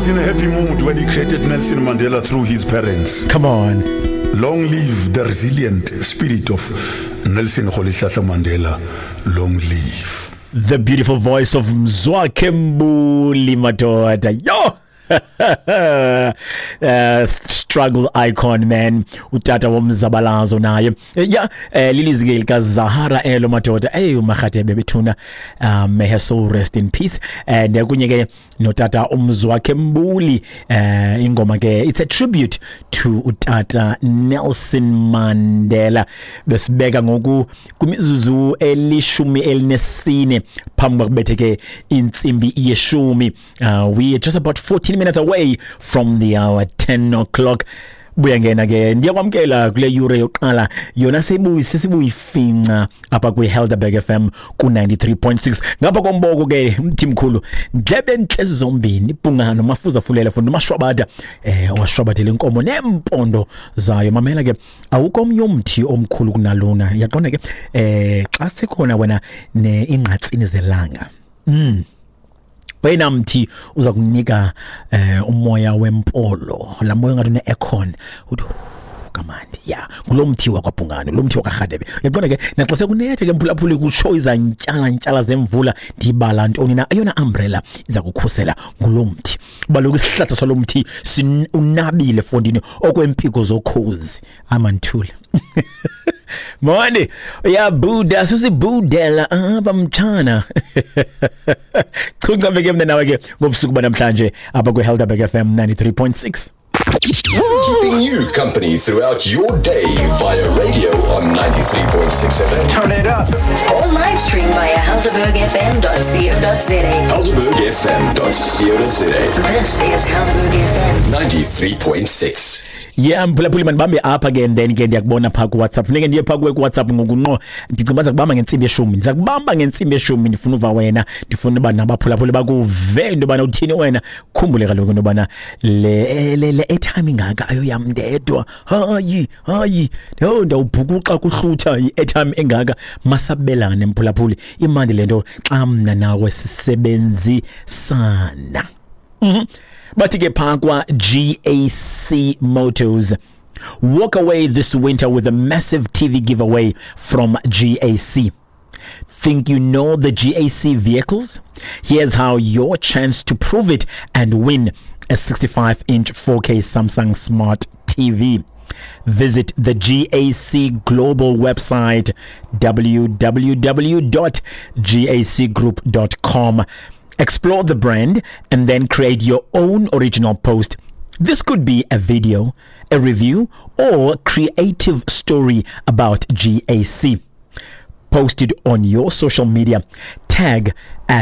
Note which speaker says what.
Speaker 1: was in a happy mood when he created Nelson Mandela through his parents.
Speaker 2: Come on.
Speaker 1: Long live the resilient spirit of Nelson Rolihlahla Mandela. Long live.
Speaker 2: The beautiful voice of Mzwakhe Mbuli, madoda. Yo! Struggle icon, man, utata womzabalazo naye. Yeah, lilizwi ke likaZahara elo, madoda. Ey, uMarhatebe bethuna, may her soul rest in peace, and kunye ke notata uMzwakhe Mbuli. Ingoma ke, it's a tribute to utata Nelson Mandela. Besibeka ngoku kwimizuzu 14 phambi kwakubethe ke intsimbi yeshumi. We are just about 14 minutes away from the hour 10 o'clock. Buya ngena ke, ndiyakwamkela kule yure yokuqala yona sebuyi sesibuyifinca apha kwi-Helderberg FM ku-93.6. Ngapha komboko ke, mthimkhulu, ndlebe ntle zombini, ibhungano mafuza fulela funda umashwabada, owashwabadela inkomo nempondo zayo. Mamela ke, awukho omnye umthi omkhulu kunalona, yaqonda ke, xa sekhona wena ne ingqatsini zelanga, wena mthi uza kunika umoya wempolo, la moya ngathi une aircon, uthi kamandi ya ngulo mthi wakwaBhungane, lo mthi wakwaRhadebe, uyaqonda ke. Naxa sekunetha ke, mphulaphuli, kutsho izantyala ntyala zemvula, ndibala ntoni na, eyona umbrella iza kukhusela ngulo mthi. Baloku isihlahla salo mthi unabile fondini okwempiko zokhozi amanthula. Monde uyabuda, susibudela apha mtshana. Chunca ke mna nawe ke ngobusuku banamhlanje apha kwi-Helderberg FM 93.6.
Speaker 3: Keeping you company throughout your day via radio on 93.6 FM.
Speaker 4: Turn it up.
Speaker 5: Or live stream via helderbergfm.co.za.
Speaker 3: HelderbergFM.co.za.
Speaker 5: This is Helderberg FM.
Speaker 3: 93.6.
Speaker 2: Yeah, mphulaphuli, mandibambe apha ke, and then ke ndiyakubona phaa kuWhatsApp. Funeke ndiye phaa kuwe kuWhatsApp ngoku nqo. Ndicinga uba ndiza kubamba ngentsimbi yeshumi, ndiza kubamba ngentsimbi yeshumi. Ndifuna uva wena, ndifuna uba nabaphulaphuli bakuve into yobana uthini wena. Khumbule kaloku into yobana le airtime ingaka ayoyam ndedwa. Hayi, hayi, yho, ndawubhukuxa kuhlutha i-airtime engaka. Masabelane, mphulaphuli, imandi le nto xa mna nawe sisebenzisana. Bathi ke phaa kwa GAC Motors, walk away this winter with a massive TV giveaway from GAC. Think you know the GAC vehicles? Here's how your chance to prove it and win a 65-inch 4K Samsung Smart TV. Visit the GAC Global website, www.gacgroup.com. Explore the brand and then create your own original post. This could be a video, a review, or creative story about GAC. Post it on your social media. Tag at